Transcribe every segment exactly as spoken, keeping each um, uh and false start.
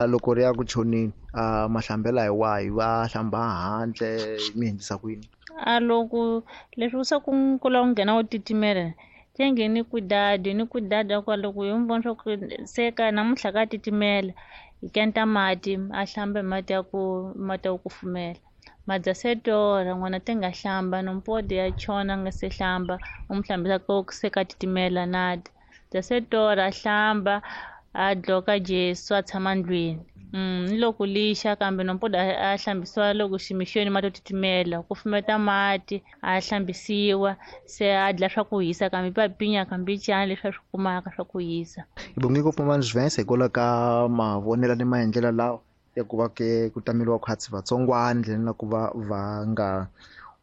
Loko ri ya ku tshoneni a mahlambela hi wahi va hlamba handle mi endlisa ku yini? A loko leswi swa ku ku lava ku nghena wo titimela tenge ni cuidado ni cuidado kwa loko hi n'wi vona swa ku se ka namuntlha ka titimela hi kenta mati a hlamba hi mati ya ku mati ya ku kufumela madza se torha n'wana te nga hlamba nompodi ya chona a nga se hlamba u n'wi hlambisa ko se ka titimela nada dza se torha a hlamba a dloka Jesu a tshama ndlwini. Mm, ni loko lixa kambe nompoda a hlambisiwa loko ximixweni mati yo titimela ku fumeta mati a hlambisiwa se a dla swa ku hisa kambe papinya kambe cani leswi a swi kumaka swa ku hisa. Hi bonge ngopfu Mama Juvensa hikwalaho ka mavonelo ni maendlelo lawa ya ku va ke ku tameliwa khwatsi vatsongwana ndleleni na ku va va nga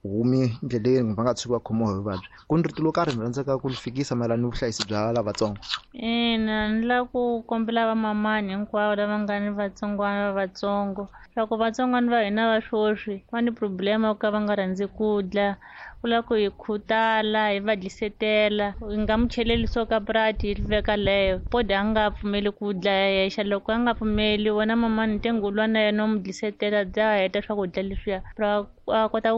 humi ndleleni va nga tshuki va khomiwa hi vuvabyi. Ku ni rito lo karhi mi rhandzaka ku li fikisa mayelana ni vuhlayisi bya lavatsongo? Ina, ni lava ku kombela vamamani hinkwavo lava nga ni vatsongwana va vatsongo swa ku vatsongwana va hina va sweswi va ni problema yo ka va nga rhandzi ku dla ku lava ku hi khutala hi va dlisetela hi nga mu cheleli swo ka prati hi veka leyo podi a nga pfumeli ku dla yexe loko a nga pfumeli wena mamani ntengo lwa na yena u mu dlisetela bya heta swakudya leswiya ra a kota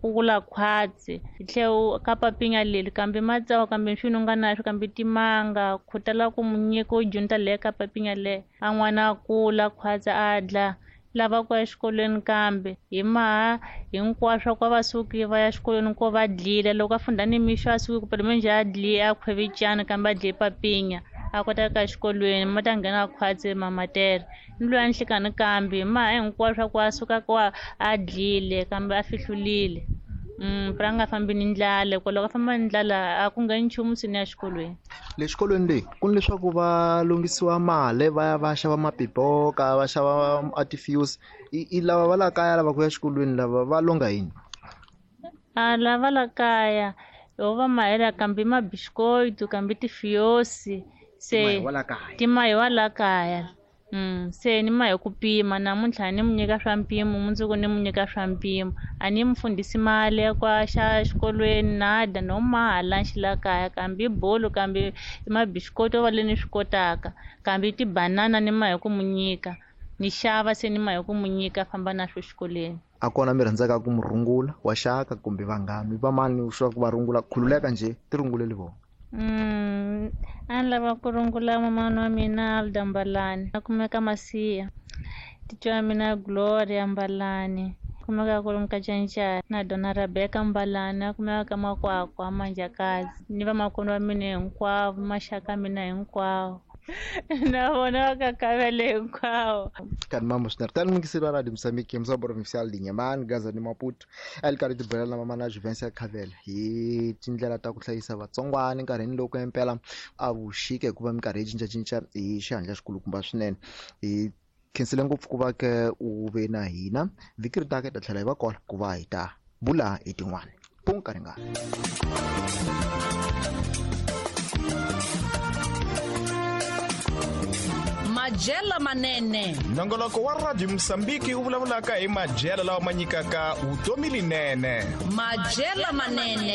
ku kula khwatsi hi tlhe ka papinya leri kambe matsawa kambe swi nga na swi kambe timanga khutala ku mu nyika u dyondza leyo ka papinya leyo a n'wana a kula khwatsi a dla lava ku ya exikolweni kambe hi maha hinkwaswo ku va suki va ya exikolweni ko va dlile loko a funda ni mixo a suki ku menjhe a dli a khwevicana kambe a dle papinya a kota ku ya exikolweni ma ta nghena khwatsi mamatere ni loyi a nhlikani kambe hi maha hinkwaswo ku a suka ku a dlile kambe a fihlulile mm pra nga fambi ni ndlala ku loko a famba ni ndlala a ku ngheni nchumu sini ya xikolweni. Le xikolweni leyi ku ni leswaku va lunghisiwa mali va ya va xava mapipoka va xava artifuse i lava va la kaya lava ku ya xikolweni lava va longa yini? A lava la kaya ho va mahela kambe mabiscoito kambe tifiosi se timahi wa la kaya. Mm, se ni ma hi ku pima namuntlha ni mu nyika swa mpimo mundzuku ni mu nyika swa mpimo a ni mu fundhisi mali ya kwa xa xikolweni nada no maha lunch la kaya kambe bolo kambe mabisikoto va le ni swi kotaka kambe tibanana ni ma hi ku mu nyika ni xava se ni ma hi ku mu nyika famba na swo xikolweni. A kona mi rhandzaka ku mu rungula wa xaka kumbe vanghani va mani swa ku va rungula khululeka njhe ti runguleli vona? Mm, a ni lava ku rungula mamana wa mina Alda Mbalani a kumeka Masiya titwa wa mina Gloria Mbalani kumeka ku ri Mkacancana na Dona Rebecca Mbalani a kumeka ka Makwakwa Manjakazi ni vamakwenu wa mina hinkwavo maxaka mina hinkwawo na vona va kakavele hinkwawo. Kanti mamo swinene tani mingiseri wa Radio Mozambique musa provincial de Inhambane Gaza ni Maputo a li karhi tibulela na mama na Juvensa Khavele hi tindlela ta ku hlayisa vatsongwana nkarhini loko impela a vuxika hikuva minkarhi yi cincacinca hi xihatla xikulukumba swinene. Hi khensile ngopfu ku va ke u ve na hina vhiki ri taka hi ta tlhela hi va kona ku va hi ta bula hi tin'wana punka ringana. Majela manene nongoloko wa Radio Mozambique wu vulavulaka hi majela lawa ma nyikaka vutomi linene. Majela manene.